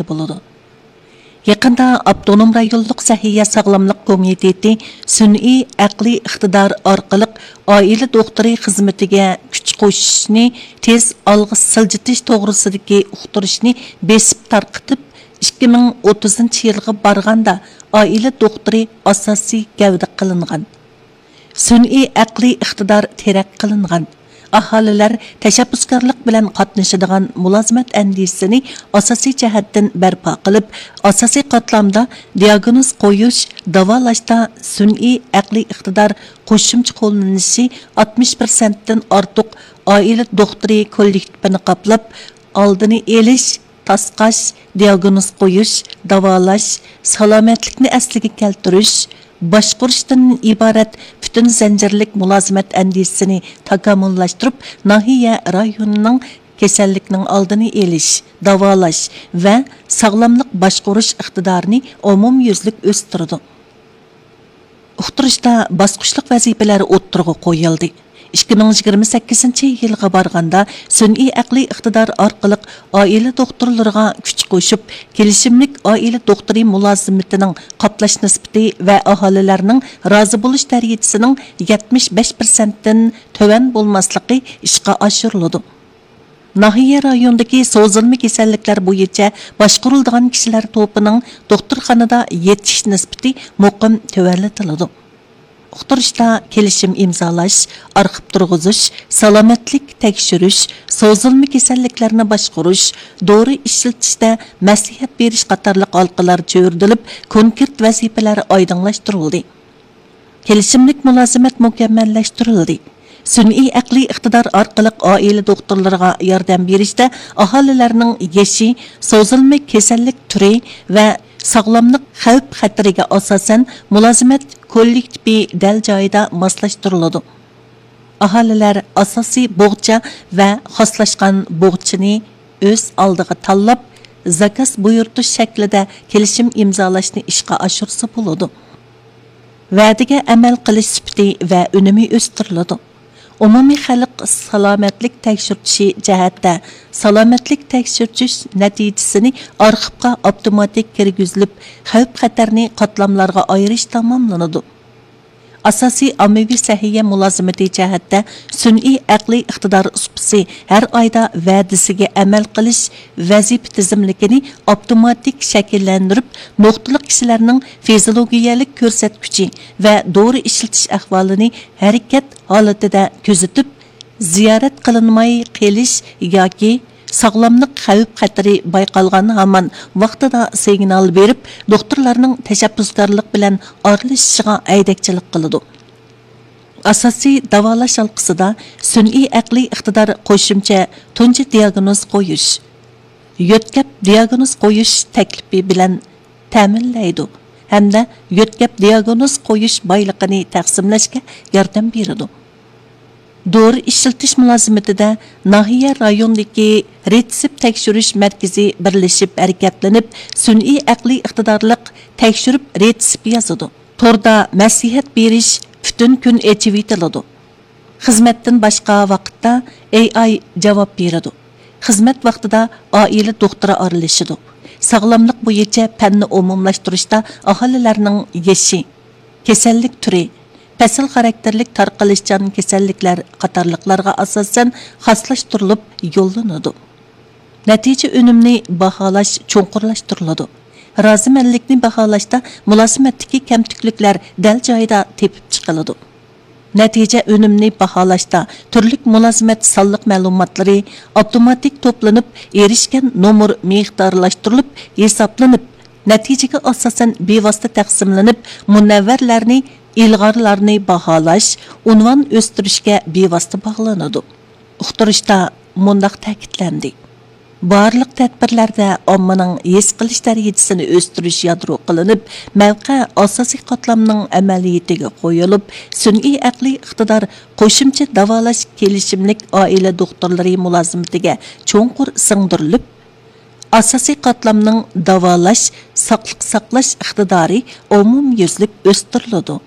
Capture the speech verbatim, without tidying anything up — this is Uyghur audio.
بولىدۇ. يېقىندا ئاپتونوم رايونلۇق سەھىيە ساغلاملىق كومىتېتى سۈنئىي ئەقلىي ئىقتىدار ئارقىلىق ئائىلە دوختۇرى خىزمىتىگە كۈچ قوشۇشنى تېز ئالغا سىلجىتىش توغرىسىدىكى ئۇقتۇرۇشنى بېسىپ تارقىتىپ، ئىككى مىڭ ئوتتۇزىنچى يىلغا بارغاندا ئائىلە دوختۇرى ئاساسىي گەۋدە قىلىنغان. سۈنئىي ئەقلىي ئىقتىدار تەرەققىي قىلىنغان. ئاھالىلەر تەشەببۇسكارلىق بىلەن قاتنىشىدىغان مۇلازىمەت ئەندىزىسىنى ئاساسىي جەھەتتىن بەرپا قىلىپ، ئاساسىي قاتلامدا دىياگنوز قويۇش، داۋالاشتا سۈنئىي ئەقلىي ئىقتىدار قوشۇمچە قوللىنىشى ئاتمىش پىرسەنتتىن ئارتۇق ئائىلە دوختۇرى كوللېكتىپىنى قاپلاپ، ئالدىنى ئېلىش، تاسقاش، دىياگنوز قويۇش، داۋالاش، سالامەتلىكنى ئەسلىگە كەلتۈرۈش، باشقۇرۇشتىن ئىبارەت پۈتۈن زەنجىرلىك مۇلازىمەت ئەندىزىسىنى تاكامۇللاشتۇرۇپ، ناھىيە رايونىنىڭ كېسەللىكنىڭ ئالدىنى ئېلىش، داۋالاش ۋە ساغلاملىق باشقۇرۇش ئىقتىدارىنى ئومۇميۈزلۈك ئۆستۈرىدۇ. ئۇقتۇرۇشتا باسقۇچلۇق ۋەزىپىلەر ئوتتۇرىغا قويۇلدى. ئىككى مىڭ يىگىرمە سەككىزىنچى يىلغا بارغاندا، سۈنئىي ئەقلىي ئىقتىدار ئارقىلىق ئائىلە دوختۇرلىرىغا كۈچ قوشۇپ، كېلىشىملىك ئائىلە دوختۇرى مۇلازىمىتىنىڭ قاپلاش نىسبىتى ۋە ئاھالىلەرنىڭ رازى بولۇش دەرىجىسىنىڭ يەتمىش بەش پىرسەنتتىن تۆۋەن بولماسلىقى ئىشقا ئاشۇرۇلىدۇ. ناھىيە رايونىدىكى سوزۇلما كېسەللىكلەر بويىچە باشقۇرۇلىدىغان كىشىلەر توپىنىڭ دوختۇرخانىدا يېتىش نىسبىتى مۇقىم تۆۋەنلىتىلىدۇ. ئۇقتۇرۇشتا كېلىشىم ئىمزالاش، ئارخىپ تۇرغۇزۇش، سالامەتلىك تەكشۈرۈش، سوزۇلما كېسەللىكلەرنى باشقۇرۇش، دورا ئىشلىتىشتە مەسلىھەت بېرىش قاتارلىق ھالقىلار چۆرۈدۈلۈپ، كونكرېت ۋەزىپىلەر ئايدىڭلاشتۇرۇلدى. كېلىشىملىك مۇلازىمەت مۇكەممەللەشتۈرۈلدى. سۈنئىي ئەقلىي ئىقتىدار ئارقىلىق ئائىلە دوختۇرلىرىغا ياردەم بېرىشتە ئاھالىلەرنىڭ يېشى، سوزۇلما كېسەللىك تۈرى ۋە ساغلاملىق خەۋپ خەتىرىگە ئاساسەن مۇلازىمەت كوللېكتىپى دەل جايىدا ماسلاشتۇرۇلىدۇ. ئاھالىلەر ئاساسىي بوغچا ۋە خاسلاشقان بوغچىنى ئۆز ئالدىغا تاللاپ، زاكاز بۇيرۇتۇش شەكلىدە كېلىشىم ئىمزالاشنى ئىشقا ئاشۇرسا بولىدۇ. ۋەدىگە ئەمەل قىلىش سۈپىتى ۋە ئۈنۈمى ئۆستۈرۈلىدۇ. ئومۇمىي خەلق سالامەتلىك تەكشۈرتۈشى جەھەتتە سالامەتلىك تەكشۈرتۈش نەتىجىسىنى ئارخىپقا ئاپتوماتىك كىرگۈزۈلۈپ، خەۋپ خەتەرنى قاتلاملارغا ئايرىش تاماملىنىدۇ. ئاساسىي ئاممىۋى سەھىيە مۇلازىمىتى جەھەتتە سۈنئىي ئەقلىي ئىقتىدار سۇپىسى ھەر ئايدا ۋەدىسىگە ئەمەل قىلىش ۋەزىپە تىزىملىكىنى ئاپتوماتىك شەكىللەندۈرۈپ، نۇقتىلىق كىشىلەرنىڭ فىزىولوگىيەلىك كۆرسەتكۈچى ۋە دورا ئىشلىتىش ئەھۋالىنى ھەرىكەت ھالىتىدە كۆزىتىپ، زىيارەت قىلىنماي قېلىش ياكى ساغلاملىق خەۋپ خەتىرى بايقالغان ھامان ۋاقتىدا سىگنال بېرىپ، دوختۇرلارنىڭ تەشەببۇسكارلىق بىلەن ئارىلىشىشىغا ھەيدەكچىلىك قىلىدۇ. ئاساسىي داۋالاش ھالقىسىدا سۈنئىي ئەقلىي ئىقتىدار قوشۇمچە تۇنجى دىياگنوز قويۇش، يۆتكەپ دىياگنوز قويۇش تەكلىپى بىلەن تەمىنلەيدۇ ھەمدە يۆتكەپ دىياگنوز قويۇش بايلىقىنى تەقسىملەشكە ياردەم بېرىدۇ. دورا ئىشلىتىش مۇلازىمىتىدە ناھىيە رايونىدىكى رېتسېپ تەكشۈرۈش مەركىزى بىرلىشىپ ھەرىكەتلىنىپ، سۈنئىي ئەقلىي ئىقتىدارلىق تەكشۈرۈپ رېتسېپ يازىدۇ. توردا مەسلىھەت بېرىش پۈتۈن كۈن ئېچىۋېتىلىدۇ. خىزمەتتىن باشقا ۋاقىتتا ئېي ئاي جاۋاب بېرىدۇ. خىزمەت ۋاقتىدا ئائىلە دوختۇرى ئارىلىشىدۇ. ساغلاملىق بويىچە پەننى ئومۇملاشتۇرۇشتا ئاھالىلەرنىڭ يېشى، كېسەللىك تۈرى، پەسىل خاراكتېرلىك تارقىلىشچان كېسەللىكلەر قاتارلىقلارغا ئاساسەن خاسلاشتۇرۇلۇپ يوللىنىدۇ. نەتىجە ئۈنۈمنى باھالاش چوڭقۇرلاشتۇرۇلىدۇ. رازىمەنلىكنى باھالاشتا مۇلازىمەتتىكى كەمتۈكلۈكلەر دەل جايىدا تېپىپ چىقىلىدۇ. نەتىجە ئۈنۈمنى باھالاشتا تۈرلۈك مۇلازىمەت سانلىق مەلۇماتلىرى ئاپتوماتىك توپلىنىپ، ئېرىشكەن نومۇر مىقدارلاشتۇرۇلۇپ ھېسابلىنىپ، نەتىجىگە ئاساسەن بىۋاسىتە تەقسىملىنىپ، مۇنەۋۋەرلەرنى، ئىلغارلارنى باھالاش، ئۇنۋان ئۆستۈرۈشكە بىۋاسىتە باغلىنىدۇ. ئۇقتۇرۇشتا مۇنداق تەكىتلەندى: بارلىق تەدبىرلەردە ئاممىنىڭ ھېس قىلىش دەرىجىسىنى ئۆستۈرۈش يادرو قىلىنىپ، مەۋقە ئاساسىي قاتلامنىڭ ئەمەلىيىتىگە قويۇلۇپ، سۈنئىي ئەقلىي ئىقتىدار قوشۇمچە داۋالاش كېلىشىملىك ئائىلە دوختۇرلىرى مۇلازىمىتىگە چوڭقۇر سىڭدۈرۈلۈپ، ئاساسىي قاتلامنىڭ داۋالاش، ساقلىق ساقلاش ئىقتىدارى ئومۇميۈزلۈك ئۆستۈرۈلىدۇ.